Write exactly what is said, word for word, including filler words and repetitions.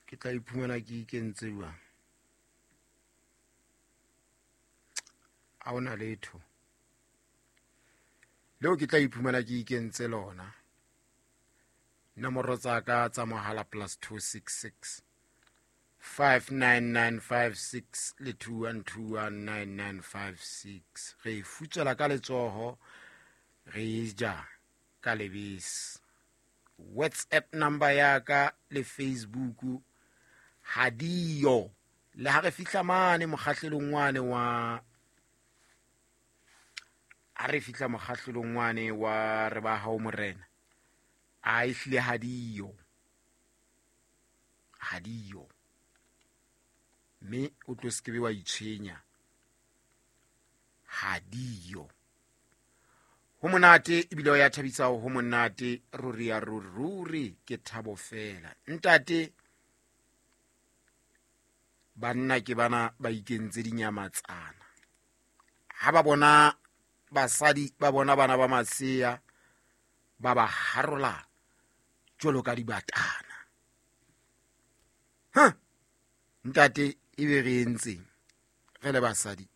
Ke tla iphumana ke ikentse jwang? Ha hona letho leo ke tla iphumana ke ikentse lona. Nomoro tsa ka tsa mohala plus two six six five nine nine five six le two one two one nine nine five six. Re e futswela ka letsoho, re e ja ka lebese. WhatsApp number ya ka le Facebook ha diyo. Le ha re fihla mane mokgahlelong wane wa, ha re fihla mokgahlelong wane wa re ba hao morena, a ehlile ha diyo, ha diyo. Mme o tlo se kebe wa itshwenya, ha diyo. Ho monate ebile o ya thabisa, ho monate ruri ya ruri, ruri ke thabo fela. Ntate, banna ke bana ba ikentse dinyamatsana. Ha ba bona basadi, ba bona bana ba masea, ba ba harola jwalo ka dibatana. Ha ntate, ebe re entseng re le basadi?